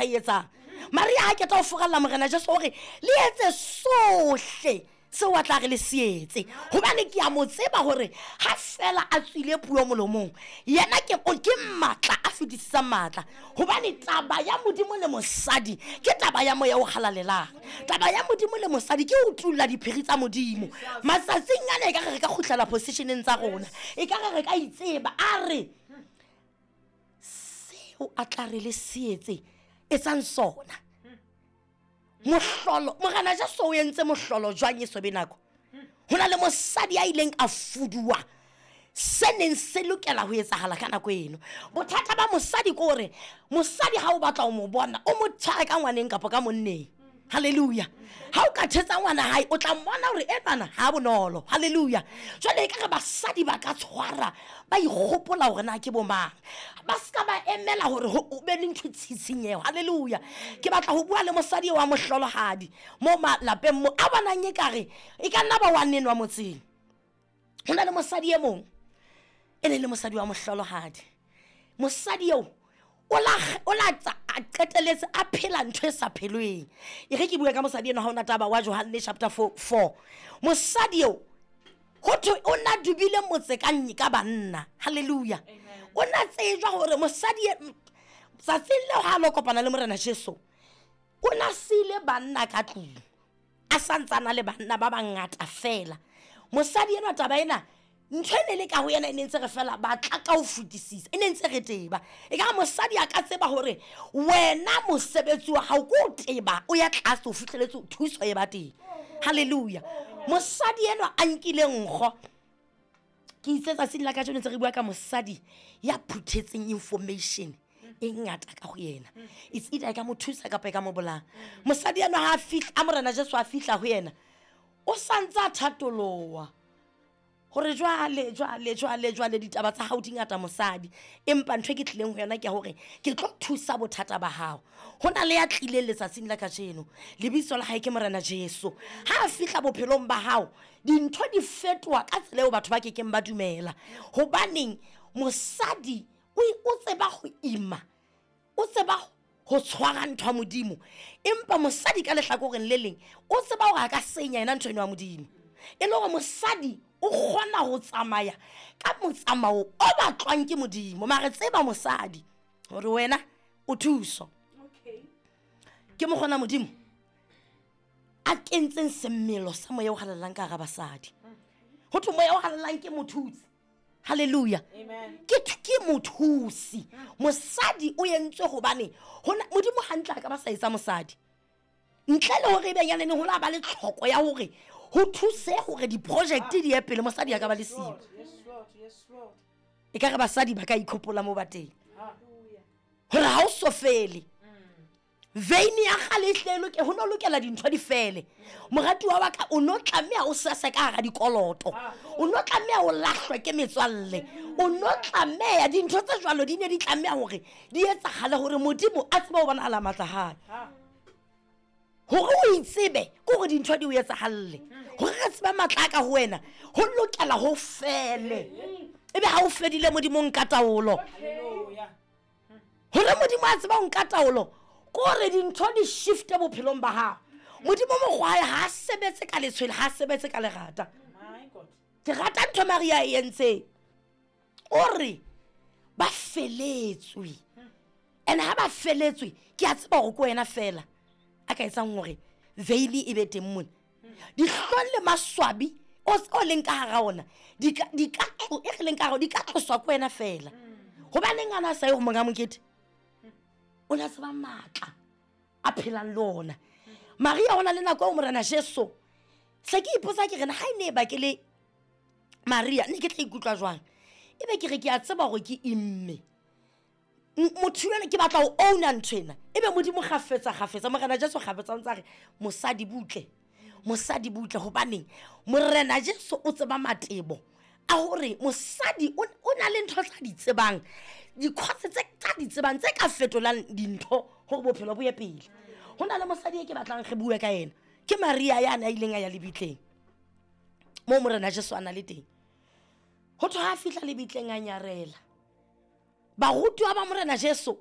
E etsang Maria ha keta ho furalla Morena Jesu hore le etse sohle seo a tla re le se etse, hobane ke a mo tseba hore ha fela a tswile puo molomong, yena ke o ke matla a fetisisang matla. Hobane taba ya Modimo le mosadi ke taba ya Moya o Halalelang. Taba ya Modimo le mosadi ke ho tulla diphiri tsa Modimo. Matsatsing ana e ka re re ka kgutlela positioneng tsa rona, e ka re re ka itseba. A re seo a tla re le se etse, etsang sona. Mohlolo, Morena Jesu o entse mohlolo jwang e sobe nako? Ho na le mosadi ya ileng a fuduwa se neng se lokela ho etsahala ka nako eno. Bothata ba mosadi ke hore mosadi ha o batla ho mo bona, o mo tshware ka ngwaneng kapa ka monneng. Halleluja. Ha o ka thetsa ngwana hae, o tla mmona hore enwana ha bonolo. Halleluja. Jwale e ka re basadi ba ka tshwara, ba ikgopola hore na ke bomang. Ba ska ba emela hore ho be le ntho tshitshinyeho. Halleluja. Ke batla ho bua le mosadi wa mohlolohadi mo malapeng mo a bonang ekare e ka nna ba wa nenwa motseng. Ho na le mosadi e mong e ne le mosadi wa mohlolohadi. Mosadi eo o la a qeteletse a phela ntho e sa phelweng. E re ke bue ka mosadi eno ha ona taba wa Johanne chapter 4. Mosadi eo ho thwe o na dubile motse ka ka banna. Halleluja. O na tsejwa hore mosadi tsatsing leo ha lo kopana le Morena Jesu, o na sile banna ka tlung, a santsana le banna ba bangata fela. Mosadi enwa taba ena ntho e ne le ka ho yena e ne ntse re fela batla ka ho fetisisa, e ne ntse re teba. E ka mosadi a ka tseba hore wena mosebetsi wa hao ke o teba, o ya tlase ho fihleletse thuso e ba teng. Halleluja. Mosadi enwa a nkile nkgo. Ke itse tsatsing la kajeno ntse re bua ka mosadi ya phuthetseng information e ngata ka ho yena. It's either e ka mo thusa kapa e ka mo bolaya. Mosadi enwa ha a fihla, a Morena Jesu a fihla ho yena, o santse a thatoloha hore jwale, jwale, jwale, jwale ditaba tsa hao di ngata mosadi, empa ntho e ke tlileng ho yona ke hore ke tlo thusa bothata ba hao. Ho na le ya tlileng letsatsing la kajeno, lebitso la hae ke Morena Jesu. Ha a fihla bophelong ba hao, dintho di fetoha ka tsela eo batho ba kekeng ba dumela. Hobaneng mosadi o tseba ho ima, o tseba ho tshwara ntho ya Modimo, empa mosadi ka lehlakoreng le leng o tseba hore a ka senya yena ntho eno ya Modimo. E le hore mosadi o kgona ho tsamaya ka motsamao o batlwang ke Modimo. Mare tseba mosadi hore wena o thuso. Ke mokgona Modimo a kentseng semmelo sa moya o halalelang ka hara basadi. Ho thwe moya o halalelang ke mothutsi. Halleluja. Ke mothusi. Mosadi o entswe hobane Modimo hantle a ka ba sa etsa mosadi ntle le hore ebe yanene ho la ba le tlhoko ya hore ho thuse hore di-project di ye pele, mosadi a ka ba le siyo. E ka re basadi ba ka ikhopola mo ba teng hore ha o so fele. Veine ya kgale e hle loke, ho no lokela dintho di fele. Moratuwa wa ka, o no tlameha o sese ka hara dikoloto, o no tlameha o lahlwe ke metswalle, o no tlameha dintho tse jwalo di ne di tlameha hore di etsahale hore Modimo a tsebe ho bonahala matla hae. Hore o itsebe ke hore dintho di o etsahalle, hore re tsebe matla a ka ho wena, ho lokela ho fele. Ebe ha o fedile Modimo nka taolo. Hore Modimo a tseba ho nka taolo ke hore dintho di shifte bophelong ba hao. Modimo mokgwa ha a sebetse ka letshwele, ha a sebetse ka lerata. Ke rata ntho Maria e entseng. O re ba feletswe. And ha ba feletswe, ke a tseba hore ke wena fela a ka etsang hore veine e be teng mona. Dihlong le maswabi o leng ka hara ona, di ka, di ka tlo, e re leng ka hara, di ka tloswa ke wena fela. Hobaneng a na sa ye ho monga mokete? O na tseba matla a phelang le ona. Maria o na le nako eo Morena Jesu. Se ke ipotsa ke re na ha e ne e ba ke le Maria, ne ke tla ikutlwa jwang? Ebe ke re ke a tseba hore ke imme. Motho yona ke batla ho owna ntho ena. Ebe Modimo kgafetsa, kgafetsa, Morena Jesu kgafetsa o ntsa re mosadi butle, mosadi butle. Hobaneng Morena Jesu o tseba matebo a hore mosadi o na le ntho tsa di tsebang, dikhotse tse tsa di tsebang tse ka fetolang dintho hore bophelo bo ye pele. Ho na le mosadi e ke batlang re bue ka yena, ke Maria ya na ileng a ya lebitleng moo Morena Jesu a na le teng. Ho thwe ha fihla lebitleng a nyarela. Barutiwa ba Morena Jesu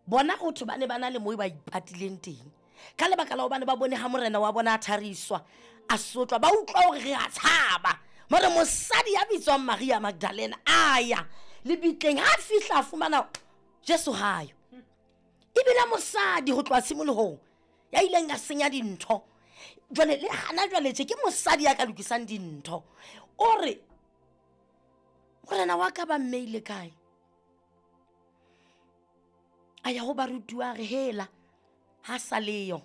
Bona go thwe ba ne ba na le mo ba ipatileng teng ka lebaka la gobane ba bone ga morena wa bona a thariswa a sotlwa, ba utlwa gore re a tshaba. Mare mosadi ya bitswang Maria Magdalena a ya lebitleng, ga a fihla a fumana Jesu gayo. Ebile mosadi go tloga tshimologong ya ileng a senya dintho, jwale le gana jwale tše ke mosadi ya ka lokisang dintho. O re morena wa ka ba mmeile kae? A ya go barutiwa re hela ga sa leyo,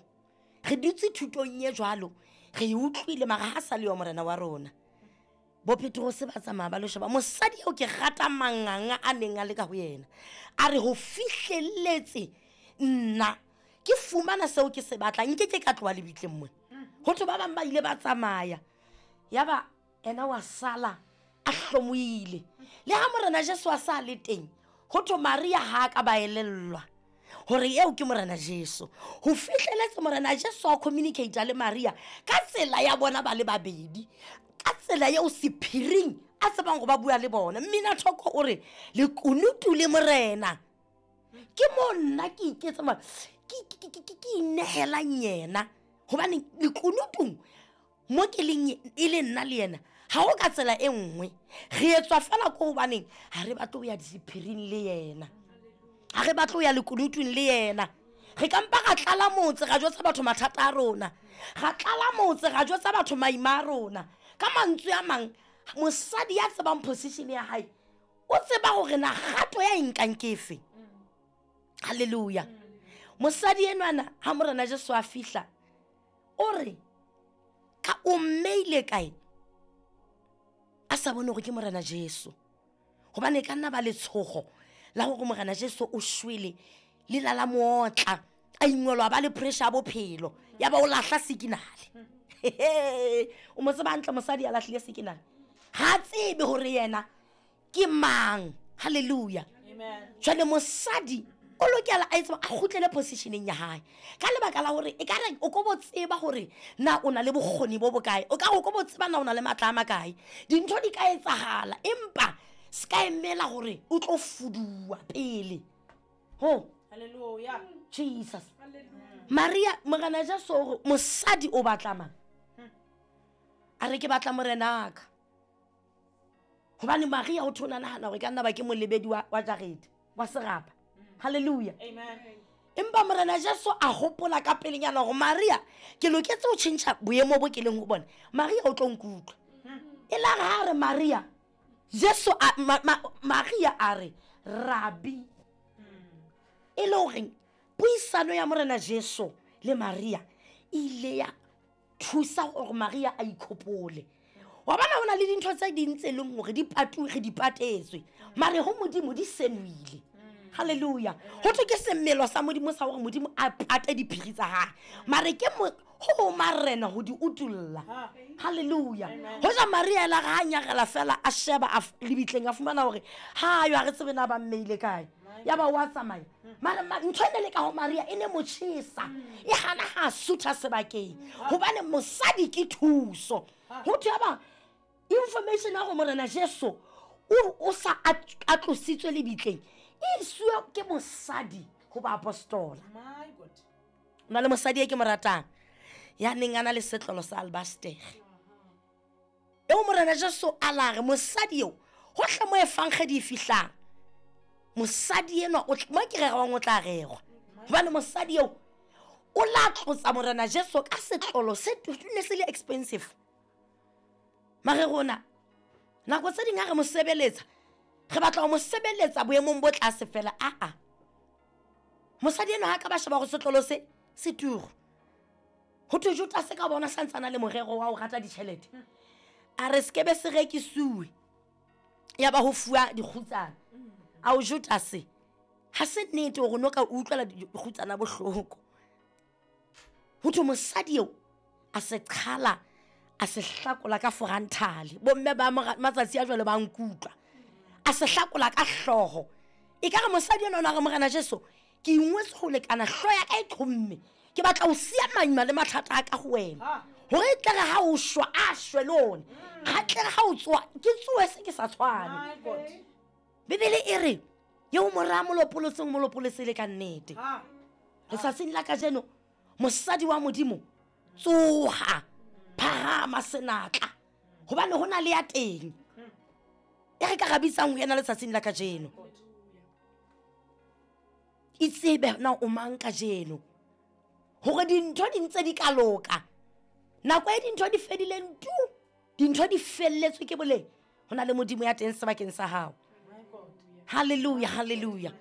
re dutse thutong ye jwalo, re e utlwile, mara ga sa leyo morena wa rona. Bo Petrose ba tsamaya ba lo sheba mosadi eo ke rata manganga a neng a le ka go yena. A re go fihlelletse nna ke fumana seo ke se batlang, nke ke ka tloa lebitleng mona. Go thwe ba bangwe ba ile ba tsamaya, ya ba ena wa sala a hlomoile. Le ga morena Jesu a sa le teng, go thwe Maria ga a ka ba elellwa gore eo ke morena Jesu. Go fihleletse morena Jesu a communicata le Maria ka tsela ya bona ba le babedi, ka tsela yeo sephiring a tsebang go ba bua le bona. Mmina thoko o re lekunutu le morena ke mo nna ke iketsa ke inegelang yena, gobane lekunutung mo ke leng e le nna le yena ga go ka tsela e nngwe, re etswa fela ko gobaneng ga re batle go ya disephiring le yena, ga re batle go ya lekunutung le yena. Re kampa ga tlala motse ga jwetsa batho mathata a rona, ga tlala motse ga jwetsa batho maima a rona. Ka mantswe a mang, mosadi ya tsebang position ya hae o tseba gore na kgato ya e nkang ke efe. Halleluja. Mosadi enwana ha morena Jesu a fihla o re ka o mmeile kae, a sa bone gore ke morena Jesu, gobane e ka nna ba letshogo la gore morena Jesu o shwele le la la mootla, a ingwelwa ba le pressure ya bophelo, ya ba o lahla sikinale. O mo tseba hantle mosadi a lahlile sikinale, ga a tsebe gore yena ke mang. Halleluja. Jwale mosadi o lokela a etse a kgutlele positioneng ya hae, ka lebaka la gore e ka re o ko bo tseba gore na o na le bokgoni bo bokae, o ka re o ko bo tseba na o na le matla a makae. Dintho di ka etsagala, empa se ka emela gore o tlo fuduwa pele. Ho Hallelujah. Jesus. Maria, morena Jesu o re mosadi o batla mang? A re ke batla morenaka. Gobane Maria o thona nagana gore ka nna ba ke molebedi wa jarete wa serapa. Halleluja. Empa morena Jesu a gopola ka pelenyana gore Maria ke loketse go tšhentšha boemo bo ke leng go bone, Maria o tlo nkutlwa. E la re ha re Maria, Jesu a, Maria a re rabi, e le goreng puisano ya morena Jesu le Maria e ile ya thusa gore Maria a ikhopole. Wa bona go na le dintho tse ding tse e leng gore di patuwe, re di patetswe, mare go modimo di senoile. Halleluja. Go thwe ke semelo sa modimo sa gore modimo a pate diphiri tsa gage, mare ke go marena go di utulla. Halleluja. Go ja Maria ela ga a nyagela fela a sheba a lebitleng, a fumana gore ha yo a re tsebe na ba mmeile kae, ya ba wa tsamaya. Mare ntho e ne le ka go Maria e ne mo tšhesa, e gana ga a sutha sebakeng, gobane mosadi ke thuso. Go thwe ba information ya go morena Jesu o sa a tlositswe lebitleng e isiwe ke mosadi go baapostola. O na le mosadi e ke mo ratang ya neng a na le setlolo sa albastere, eo morena Jesu a la re mosadi eo gotlhe mo efangedi e fihlang, mosadi enwa mo ke rerwang o tla rerwa, gobane mosadi eo o la tlotsa morena Jesu ka setlolo se ne se le expensive. Mare rona nako tse ding ha re mo sebeletsa, re batla go mo sebeletsa boemong bo tlase fela. Aa, mosadi enwa ha ka ba sheba gore setlolo se se turu, go thwe Judase ka bona santsana le morero wa go rata ditšhelete, a re sekebe se rekisiwe ya ba go fuwa dikgutsana. Ao Judase, ga se nnete gore no ka utlwela dikgutsana bohloko. Go thwe mosadi eo a se qhala, a se hlakola ka foranthale. Bomme ba matsatsi a jwale ba nkutlwa. A se hlakola ka hlogo. E ka re mosadi enwa o na re morena Jesu, ke ingwetse go lekana, hlogo ya ka e qhomme, ke batla go sia maima le mathata a ka go wena, gore e tle re ha o shwa a shwe le one, ga tle re ha o tsoa ke tsoe se ke sa tshwane. Bibele e re Eo mora a molopolotseng molopolotse le ka nnete. Letsatsing la kajeno mosadi wa Modimo tsoha, phahama senatla, gobane go na le ya teng e re ka ga bitsang ho yena letsatsing la kajeno. Itsebe na o mang kajeno, gore dintho di ntse di ka loka. Nako e dintho di fedileng tu, dintho di felletswe ke boleng, go na le Modimo ya teng sebakeng sa gago. Halleluja, halleluja,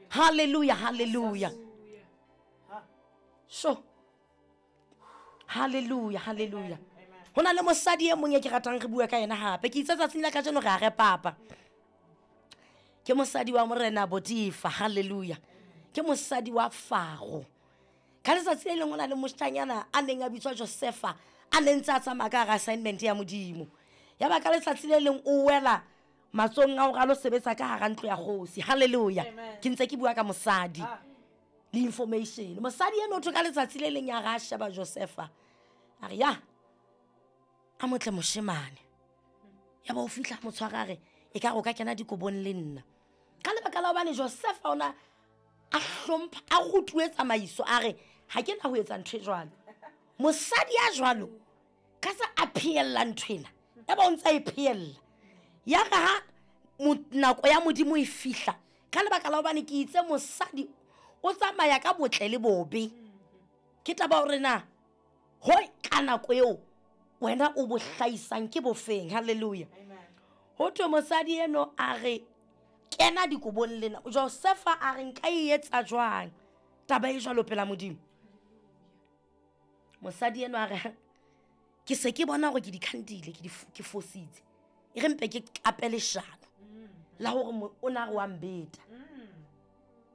halleluja, halleluja. So halleluja, halleluja. Go na le mosadi e mongwe e ke ratang re bua ka yena gape, ke itse tsatsing la kajeno re a re papa. Ke mosadi wa Morena Botifa, halleluja. Ke mosadi wa Faro. Ka letsatsi le lengwe o na le moshanyana a neng a bitswa Josefa, a ne ntse a tsamaya ka gara assignment ya Modimo. Ya ba ka letsatsi le leng o wela matsong a gore a lo sebetsa ka gara ntlo ya kgosi. Halleluja. Ke ntse ke bua ka mosadi le information. Mosadi eno o thwe ka letsatsi le leng ya ga a sheba Josefa, a re ya a motle moshemane. Ya ba o fitlha motshwara a re e ka re o ka kena dikobong le nna. Ka lebaka la hobane Josefa ona a hlompha, a rutuwe tsamaiso, a re ha ke na ho etsa ntho e jwalo. Mosadi ya jwalo ka sa a phehella ntho ena, ya ba o ntse a e phehella. Ya re ha nako ya Modimo e fihla, ka lebaka la hobane ke itse mosadi o tsamaya ka botle le bobe, ke taba hore na ho ka nako eo wena o bo hlahisang ke bofeng. Halleluja. Ho thwe mosadi eno a re kena dikobong lena. Josefa a re nka e etsa jwang taba e jwalo pela Modimo? Mosadi eno a re ke se ke bona hore ke di khandile, ke fositse, e re mpe ke qape leshano la hore o na re wa mbeta.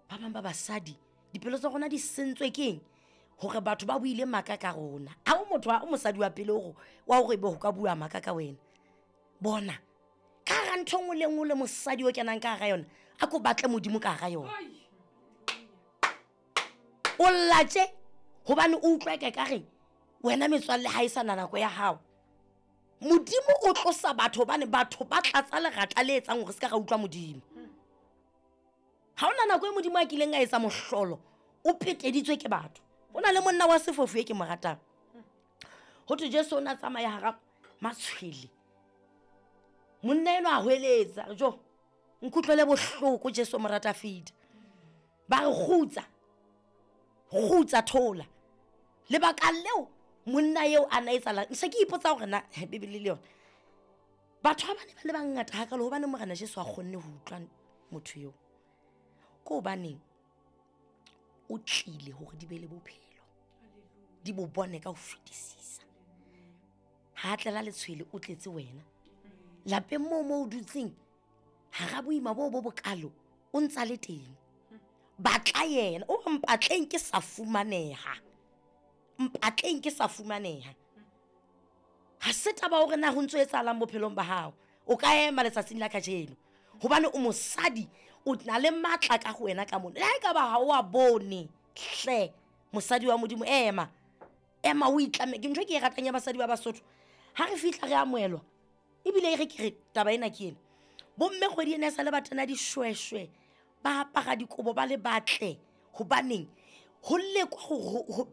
Ba bang ba basadi dipelo tsa rona di sentswe keng? Hore batho ba buile maka ka rona. Ha o motho, ha o mosadi wa pele hore wa hore ebe ho ka bua maka ka wena. Bona ka hara ntho nngwe le nngwe le mosadi o kenang ka hara yona, a ko batle Modimo ka hara yona. O latse hobane o utlwa ke ka re wena metswalle ha e sa na nako ya hao. Modimo o tlosa batho hobane batho ba tlatsa lerata le etsang hore se ka ra utlwa Modimo. Ha hona nako e Modimo a kileng a etsa mohlolo o peteditswe ke batho. Ho na le monna wa sefofu e ke mo ratang. Ho thwe Jesu o na tsamaya hara matshwele. Monna enwa a hweletsa, jo nkutlwele bohloko Jesu mo rata fida. Ba re kgutsa, kgutsa thola. Lebaka leo monna eo a na etsahala, se ke ipotsa hore na Bibele le yona batho ba bane ba le bangata hakalo hobane Morena Jesu a kgonne ho utlwa motho eo. Ke hobaneng o tlile hore di be le bophelo, di bo bone ka ho fetisisa. Ha a tlela letshwele o tletse wena lapeng moo mo o dutseng hara boima bo bo bokalo, o ntsa le teng. Batla yena, o re mpatleng ke sa fumaneha, mpatleng ke sa fumaneha. Ha se taba hore na ho ntso etsahalang bophelong ba hao, o ka ema letsatsing la kajeno hobane o mosadi, o na le matla ka ho wena ka mona. Le ha e ka ba ha o a bone hle, mosadi wa Modimo, ema, ema o itlame. Ke ntho e ke e ratang ya basadi ba Basotho, ha re fihla re amohelwa, ebile e re ke re taba ena ke ena. Bomme kgwedi ena e sa le ba tena dishweshwe, ba apara dikobo ba le batle, hobaneng ho lekwa ho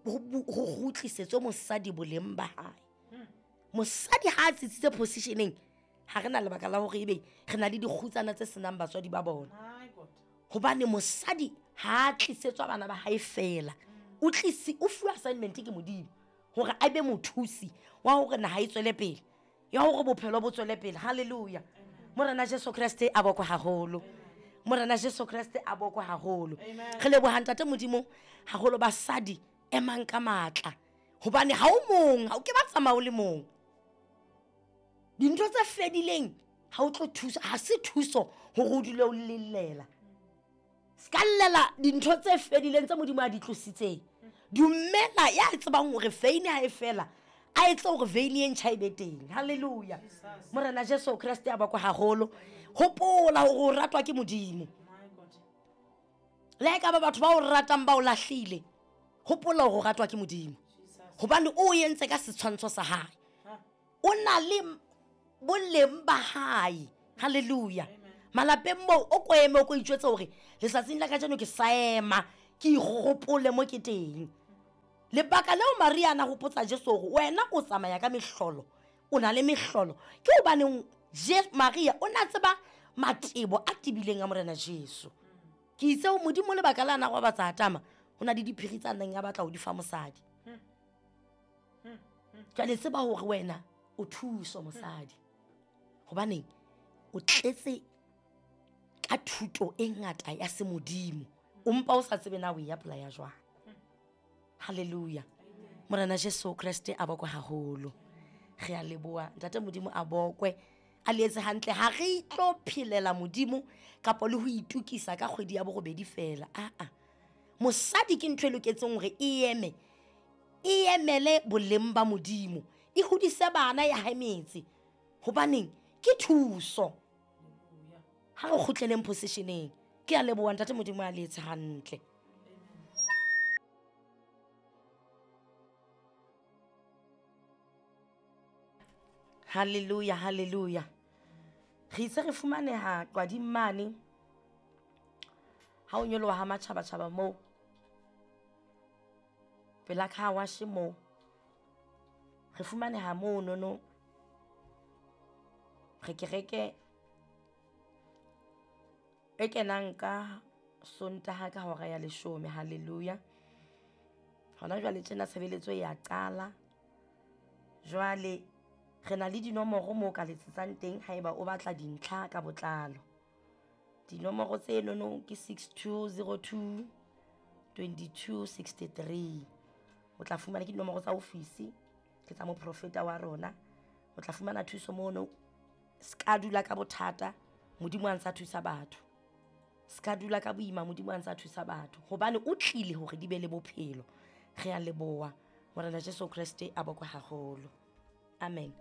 kgutlisetswe mosadi boleng ba hae. Mosadi ha a tsitsitse positioneng, ha re na lebaka la hore ebe re na le dikgutsana tse senang batswadi ba bona. Hobane mosadi ha a tlisetswa bana ba hae fela, o tlisi o fuwa assignment ke Modimo hore a be mothusi wa hore naha e tswele pele, ya hore bophelo bo tswele pele. Halleluja. Morena Jesu Kreste a bokwe haholo. Morena Jesu Kreste a bokwe haholo. Re leboha Ntate Modimo haholo. Basadi emang ka matla, hobane ha o mong, ha o ke ba tsamaya o le mong. Dintho tse fedileng ha o tlo thusa, ha se thuso hore o dule o lellela. Se ka llela dintho tse fedileng tse Modimo a di tlositseng. Dumela ya tsebang hore veine ha e fela, a etse hore veine e ntjha e be teng. Halleluja. Morena Jesu Kreste a bokwe haholo. Hopola hore o ratwa ke Modimo. Le ha e ka ba batho ba o ratang ba o lahlile, hopola hore o ratwa ke Modimo, hobane o entse ka setshwantsho sa hae. O na le boleng ba hae. Halleluja. Malapeng moo o ko eme o ko itjwetse hore letsatsing la kajeno ke sa ema ke ikgopole mo ke teng. Lebaka leo Maria a na hopotsa Jesu hore wena o tsamaya ka mehlolo, o na le mehlolo, ke hobaneng Maria o na tseba matebo a tebileng a Morena Jesu. Ke itse ho Modimo lebaka la na robatsa Adama, ho na le diphiri tsa neng a batla ho di fa mosadi. Jwale tseba hore wena o thuso mosadi. Hobaneng o tletse ka thuto e ngata ya semodimo, o mpa o sa tsebe na o e apply-a jwang. Hallelujah. Morena Jesu Kreste a bokwe haholo. Re a leboha Ntate Modimo a bokwe, a le etse hantle. Ha re tlo phelela Modimo kapa le ho itukisa ka kgwedi ya borobedi fela. Aa, mosadi ke ntho e loketseng hore e eme, e emele boleng ba Modimo, e hodise bana ya hae metse. Hobaneng ke thuso. Ha re kgutleleng positioneng. Ke a leboha Ntate Modimo a le etse hantle. Hallelujah, hallelujah. Re itse re fumaneha Qwading mane. Ha o nyoloha ha matjhabatjhaba moo. Pela car wash moo. Re fumaneha moo nono. Re kereke e kenang ka Sontaha ka hora ya leshome. Hallelujah. Hona jwale tjena tshebeletso ya qala. Jwale re na le dinomoro moo ka letsetsang teng haeba o batla dintlha ka botlalo. Dinomoro tse nono ke 6202 2263. O tla fumana ke dinomoro tsa ofisi, ke tsa moprofeta wa rona. O tla fumana thuso mono. Ska dula ka bothata, Modimo a ntsa thusa batho. Ska dula ka boima, Modimo a ntsa thusa batho. Hobane o tlile hore di be le bophelo. Re a leboha. Morena Jesu Kreste a bokwe haholo. Amen.